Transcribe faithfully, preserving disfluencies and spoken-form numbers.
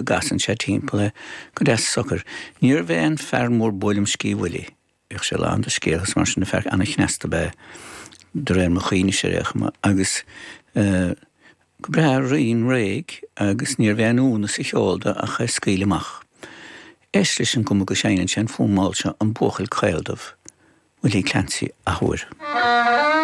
go gcasann sé timpeall é go deas socair. Níorbh é an fear mór buaileam sciath Willie. Bhíodh sé lán de scéalta is mar sin, fear an-chneasta ab ea de réir mo chuimhnese ar aon chuma, agus go breá righin réidh agus níorbh aon ionadh sa cheol dó ach é a scaoileadh amach. Éist leis an gcuma go seinneann sé an fonn mall seo, An Buachaill Caoldubh, Willie Clancy, athuair.